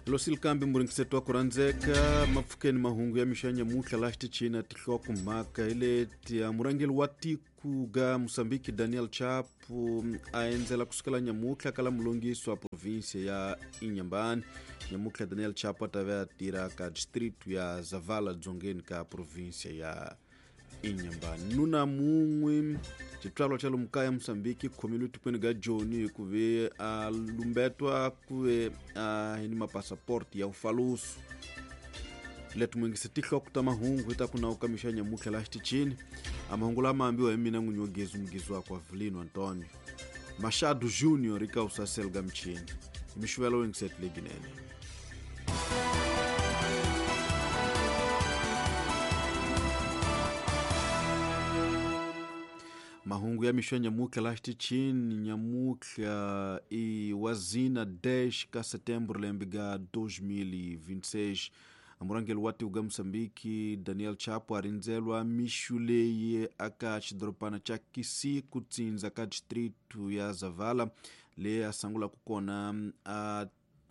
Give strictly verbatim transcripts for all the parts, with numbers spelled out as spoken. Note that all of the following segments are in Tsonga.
Losilkambi muringiseto wa ku rhandzeka mapfukeni mahungu ya mixo ya nyamutlha laha xitichini tinhloko mhaka hi leti murhangeri wa tiko ga Moçambique Daniel Chapo a endzela kusukela nyamutlha kala mulongiso wa província ya Inhambane. Nyamutlha Daniel Chapo a ta ve a tirha ka distrito ya Zavala dzongeni ka província ya Inhambane. Nuna mun'we xitswalo xa lomu kaya Moçambique khomile tikweni ga Joni ku ve a lumbetwa ku ve a hi ni mapasaporti ya ufaluso. Leti mungise tinhloko ta mahungu hi ta ku nawu ka mixo ya nyamutlha laha xitichini. A mahungu lama ambiwa hi mina n'winyi wa gezi mugizi wakwe Avelino Antonio Machado Junior eka usasel ga michini mixuvelo yingiseti leginene. Mahungu ya mixo ya nyamutlha laha xitichini nyamutlha i wazina dez ka setembro lembe ga dois mil e vinte e seis. Murhangeri wa tiko ga Moçambique Daniel Chapo a rindzelwa mixo leyi aka xidorobana xa Kisiku tsindza ka distrito ya Zavala leyi a sungulaka kona a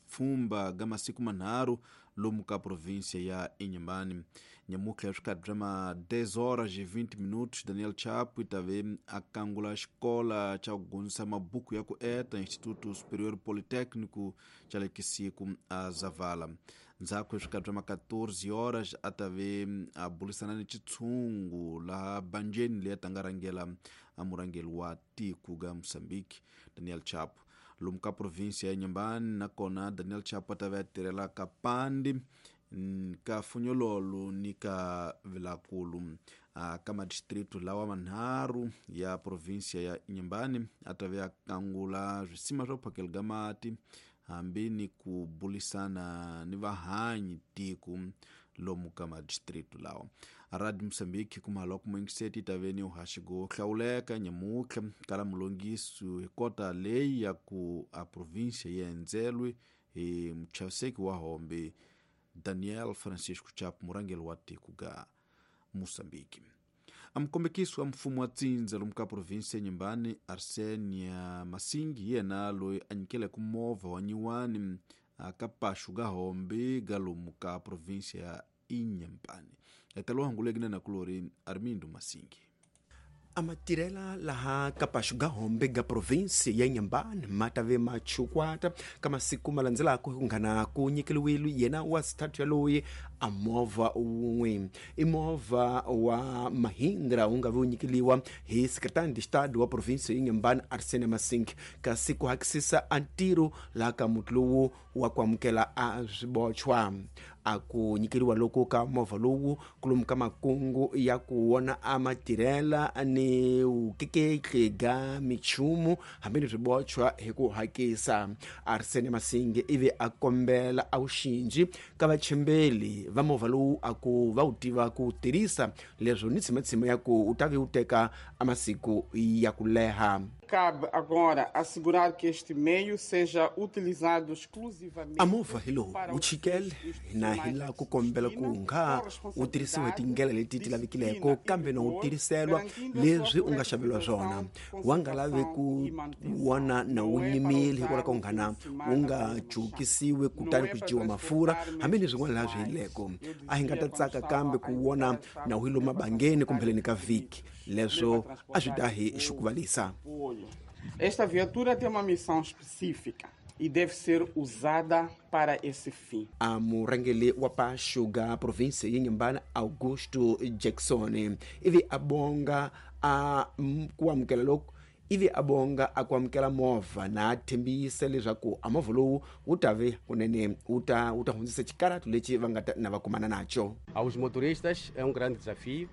pfhumba ga masiku manharhu lomu ka província ya Inhambane. Nyamutlha swikarhi bya ma dez horas e vinte minutos Daniel Chapo i ta ve a kangula xikola xa ku gondzisa mabuku ya ku eta Instituto Superior Politécnico xa le Kisiku a Zavala. Ndzhaku swikarhi bya ma quatorze horas a ta ve a burisana ni xitshungu laha banjeni leyi a ta nga rhangela a murhangeri wa tiko ga Moçambique Daniel Chapo. Lomu ka província ya Inhambane nakona Daniel Chapo a ta ve a tirhela ka Pandi ka Funyololo ni ka Vilakulu ka madistrito lawa manharhu ya província ya Inhambane a ta ve a kangula swisima swa ku phakela ga mati hambi ni ku burisana ni vahanyi tiko lomu ka madistrito lawa. Radio Moçambique kuma loko muingiseti ta ve ni uhaxi go hlawuleka nyamutlha kala mulongiso hi kota leyi ya ku a província yi endzelwe hi muchaviseki wa hombe Daniel Francisco Chapo murhangeri wa tiko ga Moçambique. A mukombekisi wa mfumo wa tsindza lomu ka província ya Inhambane Arsenia Masingi yena loyi a nyikeleke movha wa nyiwani ka paxu ga hombe ga lomu ka província ya Inhambane. Etalo hanguleki na nakulori Armindo Masingi. Amatirela laha ka paxu ga hombe ga província ya Inhambane ma ta ve ma chukwata ka masiku ma landzelaka ku nghana ku nyikeliwile yena wa xithathu yaloyi a movha wun'we i movha wa Mahindra wu nga ve wu nyikeliwa hi secretary de estado wa província ya Inhambane Arsene Masingi kasi ku hakisisa a ntirho laha ka muti lowu wa ku amukela a swibochwa. A ku nyikeriwa loko ka movha lowu kulomu ka makungu ya ku wona a matirhela ni vukeketli ga michumu hambi ni swibochwa hi ku hakisa. Arsene Masingi ivi a kombela a wuxinji ka vachembeli va movha lowu a ku va wu tiva ku tirhisa leswo ni tshimatshima ya ku u ta ve wu teka a masiku ya ku leha. Cabe agora assegurar que este meio seja utilizado exclusivamente. A movha hi lowu wu chikele na hi laha ku kombela ku nga wu tirhisiwa hi tindlela leti ti lavekileko kambe no wu tirhiselwa leswi u nga xaveriwa swona wa nga lavi ku wona na wu nyimile hikwalaho ka nghana wu nga jukisiwi kutani ku dyiwa mafurha hambi ni swin'wana laha swi yileko. A hi nga ta tsaka kambe ku wona na wu hi lomu mabangeni kumbeleni ka vhiki leswo a swi ta hi xukuvalisa. Esta viatura tem uma missão específica e deve ser usada para esse fim. A murhangeri wa paxu ga província ya Inhambane Augusto Jackson ivi a bonga a ku amukela loko ivi a bonga a ku amukela movha na thembisa leswaku a movha lowu wu ta ve kunene wu ta wu ta hundzisa xikaratu lexi va nga ta na va kumana nacho. Aos motoristas é um grande desafio.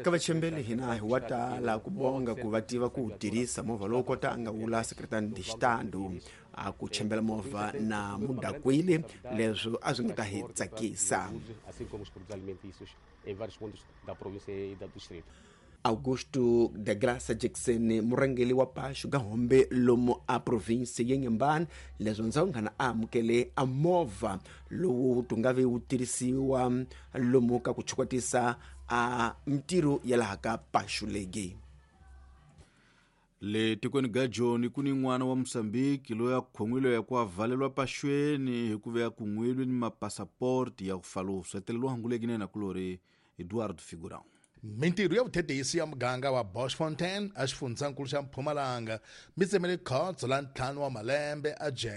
Ka vachembeli hina hi wa tala ku bonga ku va tiva ku tirhisa movha lowu kota a nga vula secretary de estado a ku chembela movha na mudakwile leswo a swi nga ta hi tsakisa. Assim como os produtos alimentícios em vários pontos da província e do distrito. Augusto da Graça Jackson murhangeri wa paxu ga hombe lomu a província ya Inhambane leswo ndzawunghana a amukele a movha lowu tu nga ve wu tirhisiwa lomu ka ku chukwatisa a mintirho ya laha ka paxu legi. Le tikweni ga Joni ku ni n'wana wa Mosambiki loyi a khomile ya ku avalelwa paxweni hikuva ya kun'wile ni mapasaporti ya ku falusa hetelelo hanguleki na kulori Eduardo Figurão. Mintirho ya vuthethisi ya muganga wa Boschfontein exifundzhankulu xa Mpumalanga mi tsemele khotso la ntlhanu wa malembe a jele.